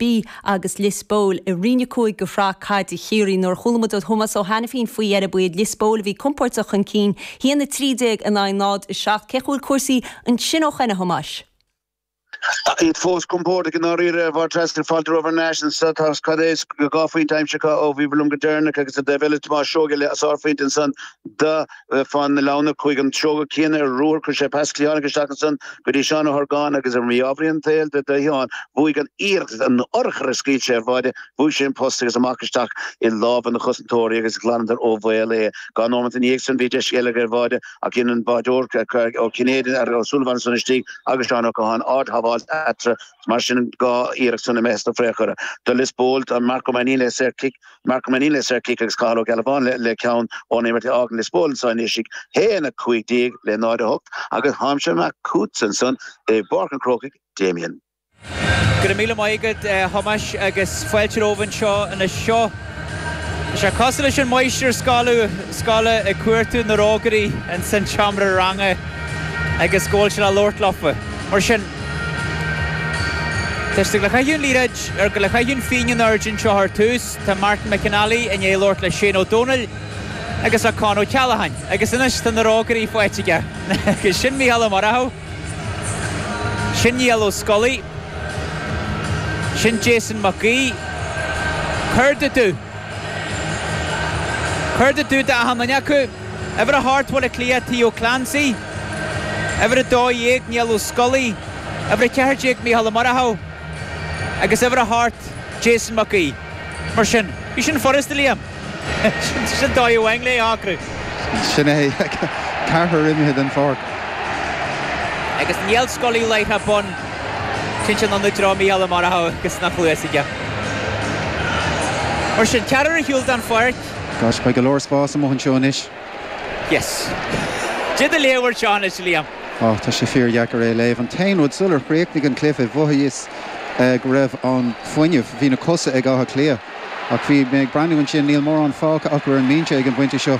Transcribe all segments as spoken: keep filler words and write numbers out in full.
B agus Lios Póil i roinn a cúig de Shraith Caide Chiarraí nuair a chuala muid ó Thomas Ó Hainifín faoi dheireadh ba iad Lios Póil a bhí compordach chun cinn a haon a trí déag in aghaidh náid a seacht cén chaoi a bhfuil cúrsaí ansin ó shin a Thomáis. Iad fós compordach i ndáiríre bhar trasna fáilte romhaibh ar ais anseo tá cad é dhá phointe aimsithe ó bhí liom go deireanach agus a dtaobh eile Tomás Seoige le sárphointe ansan do fan na leanna chuig an Seoige céanna ar ruathar chuir sé pas cliatháin isteach ansan go dtí Seán Ó hOrgáin agus ar mí-ádh an tsaoil do do Sheán bhuaigh an iarracht an urchar a scaoil sé ar bháide bhuaigh sé an post agus amach isteach i lámha na chosantóirí agus ghlanadar ó bhaol é. Dhá nóiméad ina dhiaidh sin bhí deis eile ar bháide ach in an báideoir ó Cinnéad ar ó Sullivan san istigh agus Seán Ó Catháin ard-shábháil eatarthu mar sin dhá iarracht san imithe sna friochara. Do Lios Póil an Marco Manin le saorchic Marco Manin le saorchic agus Cathal Ó Gealbháin le, le ceann ón imirt fhágann Lios Póil san isig haon a cúig déag le náid a hocht agus táimse amach chugat ansan i bPáirc an Chrócaigh Damien. Go raibh míle maith agat Thomáis agus fáilte romhaibh anseo anois seo. Sé cosúil leis an máistir scoile scoile ag cuartú na rógairí in san seomra ranga agus go bhfuil sé le labhairt leofa. Mar sin Tá le caitheamh an liathróid ar go le caitheamh an phingin in airde anseo ar tús, tá Martin McAnally i ndiaidh labhairt le Shane Ó Dónaill agus le Con O'Callaghan, agus anois tá na rógairí faighte aige. Agus sin Mícheál Ó Murchú. Sin Niall Ó Scolaí. Sin Jason Mac Aoidh. Céard a dú. Céard a dú d'achan duine acu. Uimhir a hocht Bhaile Átha Cliath Theo Clancy. Uimhir a dó dhéag Niall Ó Scolaí. Uimhir a ceathair déag Mícheál Ó Murchú. Agus uimhir a hocht Jason Mac Aoidh. Mar sin, bhí sin furasta Liam. Sin dóigh amháin le hacrú. Sin é ceathrar imithe den pháirc. Agus Niall Scully láithreach bonn sin an dra Mícheál Ó Murchú agus nach chluas aige. Mar sin ceathrar ar shiúl den pháirc. Gosh, beidh go leor spás amuigh anseo anois. Yes. Did do léamh seo anois Liam. Ó tá sé fíordheacair é léamh an t-aon rud sular chríochnaigh an cluiche mhothaíos go raibh an fuinneamh bhí na cosa ag Áth Cliath ach bhí mé ag breathnú ansin níl mórán fágtha acu ar an mbinse ag an bpointe seo.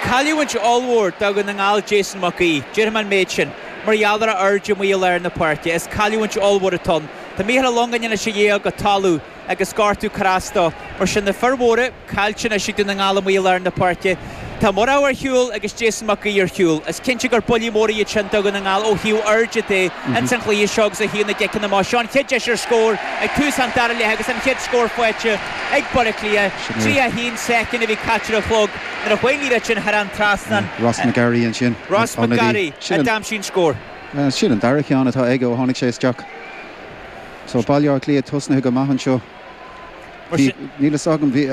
Cailliúint ollmhór do Dhún na nGall Jason Mac Aoidh, Déarfaidh mé an méid sin, mar gheall ar a airde amuigh i lár na páirce, is cailliúint ollmhór atá ann. Tá Mícheál Ó Longáin anois a dhéag go talamh agus gortú ag cur as dó, mar sin na fir mhóra caillte anois ag Dún na nGall amuigh i lár na páirce. Tá Murchú ar shiúl agus Jason Mac Aoidh ar shiúl. Is cinnte gur buillí móra iad sin do Dhún na nGall ó thaobh airde de ins an chluiche seo agus ó thaobh na gciceanna amach. Seo an chéad deis ar scór ag tús an dara leath agus an chéad scór faighte ag Baile Átha Cliath. Trí a haon soicind a bhí caite ar an chlog nuair a chuaigh an liathróid sin thar an trasnán. Ross McGarry ansin. Ross McGarry a d'aimsigh an scór. Sin an dara ceann atá aige ó tháinig sé isteach. So Baile Átha Cliath tosnaithe go maith anseo. Níl a fhios agam bhí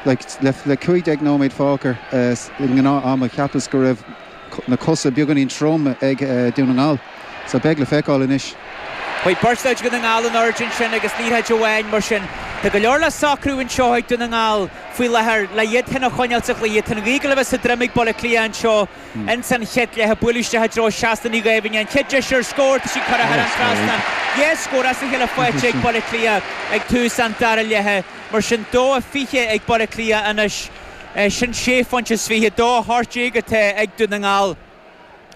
le le cúig déag nóiméad fágtha i ngnáth-am a cheapas go raibh na cosa beagáinín trom ag Dún na nGall. So beidh le feiceáil anois. Chuaigh beirt Dhún na nGall in airde ansin agus liathróid amháin mar sin. Tá go leor le socrú anseo ag Dún na nGall faoi láthair le iad féin a choinneáil sa chluiche. Tá an ghaoth le bheith sa droim ag Baile Átha Cliath anseo ins an chéad leath bualadh isteach i dtreo Seasta Ní Ghaibhne an chéad deis ar scór tá sí curtha thar an trasnán. Dhá scór as a chéile faighte ag Baile Átha Cliath ag tús an dara leatha mar sin dó a fiche ag Baile Átha Cliath anois sin sé phointe is fiche dó a hocht déag atá ag Dún na nGall.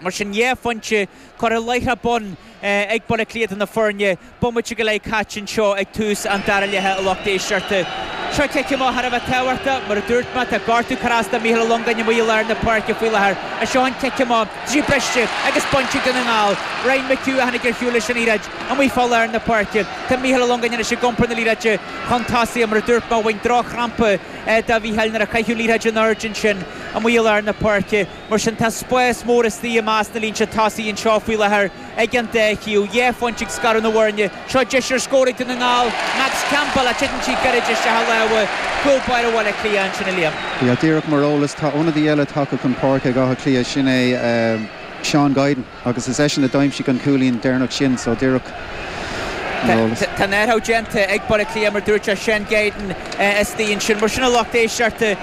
Mar sin dhá phointe curtha láithreach bonn ag Baile Átha Cliath na foirne, bomaite go leith caite anseo ag tús an dara leatha a lucht éisteachta. Seo cic amach thar a bheith tábhachtach mar a dúirt mé tá gortú ag cur as do Mícheál Ó Longáin amuigh i lár na páirce faoi láthair. A seo an cic amach trí briste agus bainte ag Dún na nGall. Ryan McHugh a tháinig ar shiúl leis an liathróid amuigh fá lár na páirce. Tá Mícheál Ó Longáin anois ag iompar na liathróide chun tosaigh mar a dúirt mé bhain drochchrampa do Mhícheál nuair a caitheadh liathróid in airde ansin amuigh i lár na páirce. Mar sin tá spás mór istigh i measc na línte tosaigh anseo faoi láthair ag an dá thaobh. Dhá phointe ag scaradh na bhfoirne. Seo deis ar scór ag Dún na nGall. Max Campbell a titeann sí gairid isteach i lámha cúl báire Bhaile Átha Cliath ansin a Liam. Yeah, díreach mar eolas tá ionadaí eile tagtha chun páirce ag Áth Cliath sin é Seán Guidon agus is eisean a d'aimsigh an cúilín deireanach sin so díreach Tá an athrú déanta ag Baile Átha Cliath mar dúirt sé Seán Guidon istigh ansin mar sin a lucht éisteachta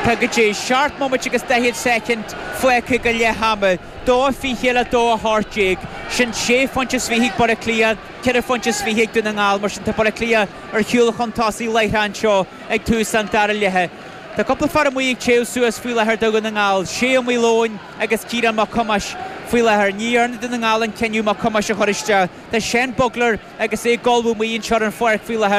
Tá go dtí seacht nóiméad agus daichead soicind fágtha go leath ama, dó fiche le dó a hocht déag, sin sé phointe is fiche ag Baile Átha Cliath, ceithre phointe is fiche ag Dún na nGall, mar sin tá Baile Átha Cliath ar shiúl chun tosaigh láithreach anseo ag tús an dara leatha. Tá cúpla fear amuigh ag téamh suas faoi láthair do Dhún na nGall, Shay Ó Maoileoin agus Ciarán Mac Thomáis faoi láthair. Ní dhearna Dún na nGall an cinneadh Mac Thomáis a chur isteach. Tá Seán Bugler agus é ag ullmhú amuigh anseo ar an pháirc faoi láthair.